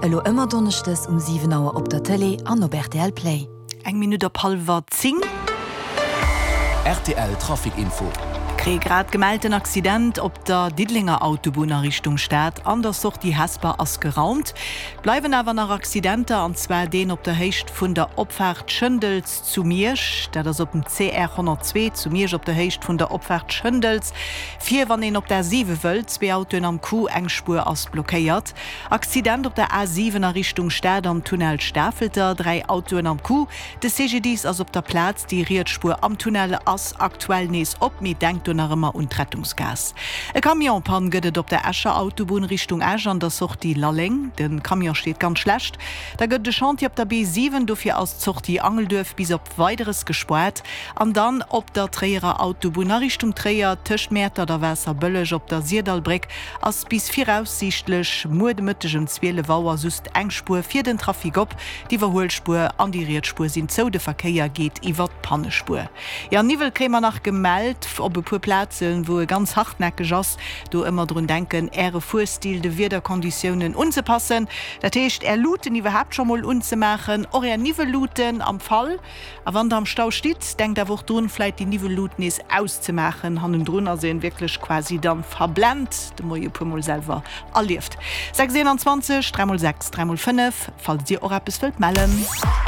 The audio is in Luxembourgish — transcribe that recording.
Elo ëmmer donneschdes um 7 Auer op der Tëlee an op rtl Play. Eng Minutt op hallwer 10. Rtl Trafic Info. Kréie grad gemellt, en Accident op der Diddelenger Autobunn a Richtung Stad an der Sortie Hesper ass geraumt. Bleiwen awer nach Accidenter, an zwar deen op der Héicht vun der Opfaart Schëndels zu Miersch. Dat ass op dem CR 102 zu Miersch op der Héicht vun der Opfaart Schëndels. Vir wann een op d'A7 wëllt, zwee Autoen am Coup, eng Spuer ass blockéiert. Accident op der A7 a Richtung Stad am Tunnel Stafelter, 3 Autoen am Coup. De CGDIS ass op der Plaz, déi riets Spuer am Tunnel ass aktuell nees op, mee denkt do nach ëmmer un d'Rettungsgaass. E Camion-Pann gëtt et op der Escher Autobunn Richtung Esch an der Sortie Lalleng. De Camion steet ganz schlecht. Da gëtt et e Chantier op der B7, dofir ass d'Sortie Angelduerf bis op Weideres gespaart. An dann op der Tréierer Autobunn a Richtung Tréier tëscht Mäertert a Waasserbëlleg op der Sirdallbréck ass bis viraussiichtlech muer de Mëtteg ëm 12 Auer just eng Spuer fir den Trafic op. D'Iwwerhuelspuer an déi riets Spuer sinn zou, de Verkéier geet iwwer d'Pannespuer. Jo, Niwwel kréie mer nach gemellt op e puer Plazen, wou e ganz hartnäckeg ass. Do ëmmer drun denken, Äre Fuerstil de Wiederkonditiounen unzepassen. Dat heescht, Är Luuten iwwerhaapt scho mol unzemaachen, och Är Niwwelluuten am Fall. A wann der am Stau stitt, denkt awer och drun, vläit déi Niwwellut nees auszemaachen. Hannendrun ass een wierklech quasi dann verblent. De Moie puer mol selwer erlieft. 6 21 3 mol 6 3 mol 5, falls dir och eppes wëllt mellen.